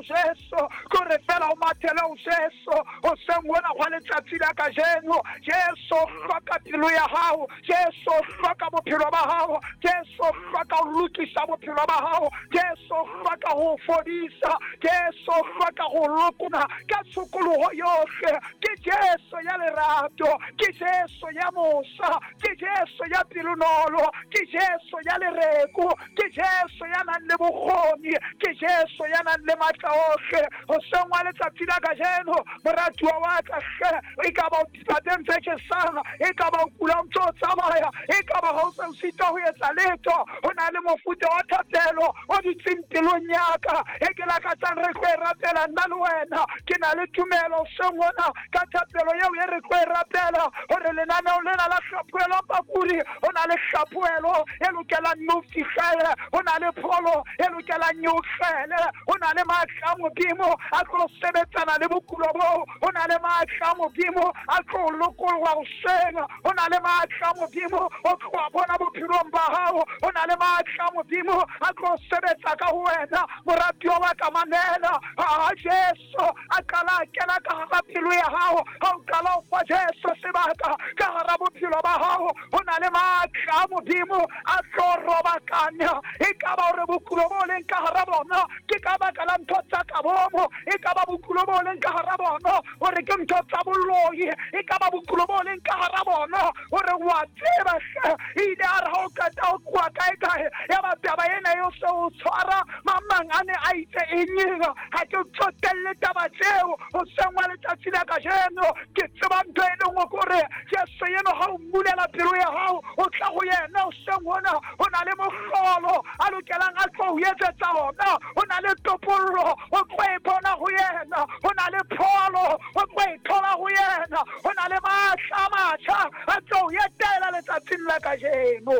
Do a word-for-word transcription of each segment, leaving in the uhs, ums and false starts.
Jesu. Ke hore feela o mathele ho Jesu hoseng hona hwa letsatsi la kajeno. Jesu o hloka pelo ya hao, Jesu o hloka bophelo ba hao, Jesu o hloka ho lokisa bophelo ba hao, Jesu o hloka ho fodisa, Jesu o hloka ho lokona ka tshokoloho yohle. Ke Jesu ya lerato, ke Jesu ya mosa, ke Jesu ya pelonolo, ke Jesu ya lereko, ke Jesu ya nang le bokgoni, ke Jesu ya nang le matla ohle. Hoseng wa letsatsi la kajeno, moratuwa wa ka hle, e ka ba o dipateng tse tjhesang, e ka ba o kula o ntso o tsamaya, e ka ba ha o se o sitwa ho etsa letho, ho na le mofuta wa thapelo o dutseng pelong ya ka e ke lakatsang re tlo e rapela nna le wena. Ke na le tumelo hoseng hona ka thapelo eo e re tlo e rapela, hore lenaneo lena la hlaphoelo bakudi, ho na le hlaphoelo e lokelang e o fihlele, ho na le pholo e lokelang e o hlele, ho na le matla a Modimo a tlo sebetsana le bokulo boo, ho na le matla a Modimo a tlo lokollwa hoseng, ho na le matla a Modimo o tlo bona bophelong ba hao, ho na le matla a Modimo a tlo sebetsa ka ho wena. Moratuwa wa ka, mamela ha Jesu a qala a kena ka hara pelo ya hao, ha o qala o fa Jesu sebaka ka hara bophelo ba hao, ho na le matla a Modimo a tlo robakanya. E ka ba hore bokulo bo leng ka hara bona ke ka baka la ntho tsa ka bomo, e ka ba bokulo bo leng ka hara bona hore ke ntho tsa boloi, e ka ba bokulo bo leng ka hara bona hore wa tseba hle, ile a re ha o qeta ho tloha kae kae, ya ba taba ena eo se o tshwara, mang mang a ne a itse eng, ha ke tsotelle taba tseo. Hoseng wa letsatsi la kajeno ke tseba ntho e le nngwe, ke hore Jesu eno ha o mmulela pelo ya hao, o tla ho yena hoseng hona, ho na le mohlolo a lokelang a tlo o etsetsa ona, ho na le topollo o tlo e bona ho yena, ho na le pholo o tlo e thola ho yena, ho na le matla a matjha a tlo o etela letsatsing la kajeno.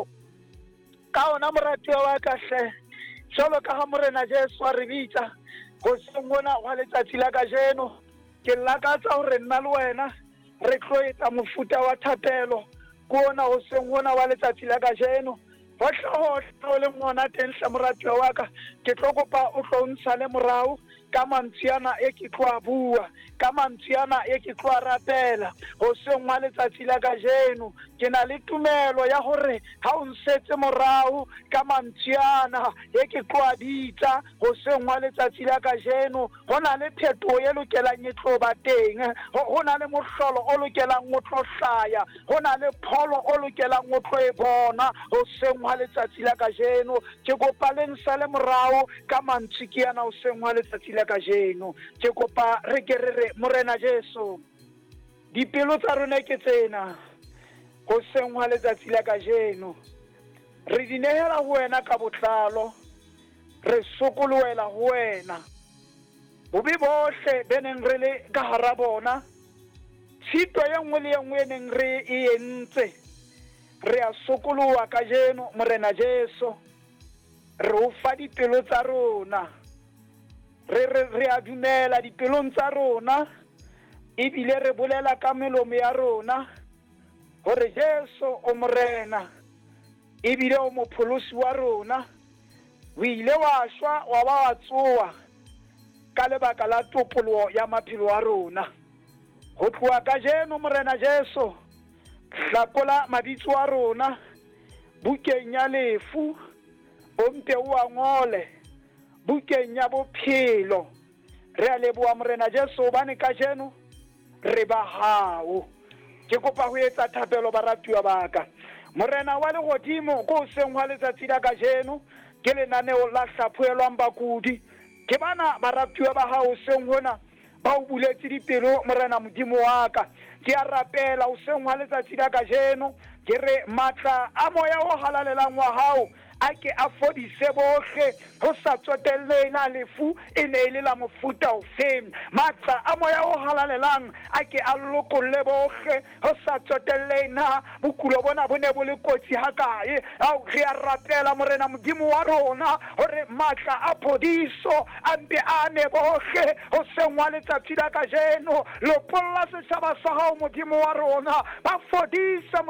Ka ona moratuwa wa ka hle, jwalo ka ha Morena Jesu a re bitsa hoseng hona hwa letsatsi la kajeno, ke lakatsa hore nna le wena re tlo etsa mofuta wa thapelo ke ona hoseng hona wa letsatsi la kajeno. Hohle hohle o leng hona teng hle moratuwa wa ka, ke tlo kopa o tlo ntshale morao ka mantswe ana e ke tlo a bua, ka mantswe ana e ke tlo a rapela hoseng wa letsatsi la kajeno. Ke na le tumelo ya hore ha o nsetse morao ka mantswe ana e ke tlo a bitsa hoseng wa letsatsi la kajeno, ho na le phetoho e lokelang e tlo ba teng, ho na le mohlolo o lokelang o tlo hlaya, ho na le pholo o lokelang o tlo e bona hoseng wa letsatsi la kajeno. Ke kopa le nsale morao ka mantswe ke ana hoseng wa letsatsi la kajeno. Ke kopa re ke re re Morena Jesu, dipelo tsa rona ke tsena hoseng hwa letsatsi la kajeno, re di nehela ho wena ka botlalo, re sokolohela ho wena. Bobe bohle be neng re le ka hara bona, tshito e nngwe le e nngwe e neng re e entse, re a sokoloha kajeno Morena Jesu, re o fa dipelo tsa rona, re re re a dumela dipelong tsa rona, ebile re bolela ka melomo ya rona hore Jesu o Morena, ebile o mopholosi wa rona. O ile wa shwa wa ba wa tsoha ka lebaka la topoloho ya maphelo a rona. Ho tloha kajeno Morena Jesu, hlakola mabitso a rona bukeng ya lefu, o mpe o a ngole bukeng ya bophelo. Re a leboha Morena Jesu hobane kajeno re ba hao. Ke kopa ho etsa thapelo baratuwa ba ka. Morena wa lehodimo, ko hoseng hwa letsatsi la kajeno ke lenaneo la hlaphoelwang bakudi. Ke bana baratuwa ba hao hoseng hona ba o buletse dipelo Morena Modimo wa ka. Ke a rapela hoseng hwa letsatsi la kajeno, ke re matla a moya o halalelang wa hao a ke a fodise bohle, ho sa tsotelle na lefu e ne e le la mofuta ofeng. Matla a moya o halalelang a ke a lokolle bohle, ho sa tsotelle na bokulo bona bo ne bo le kotsi hakae. Ao re a rapela Morena Modimo wa rona hore matla a phodiso a mpe a ame bohle hoseng wa letsatsi la kajeno. Lopolla setjhaba sa hao Modimo wa rona, ba fodise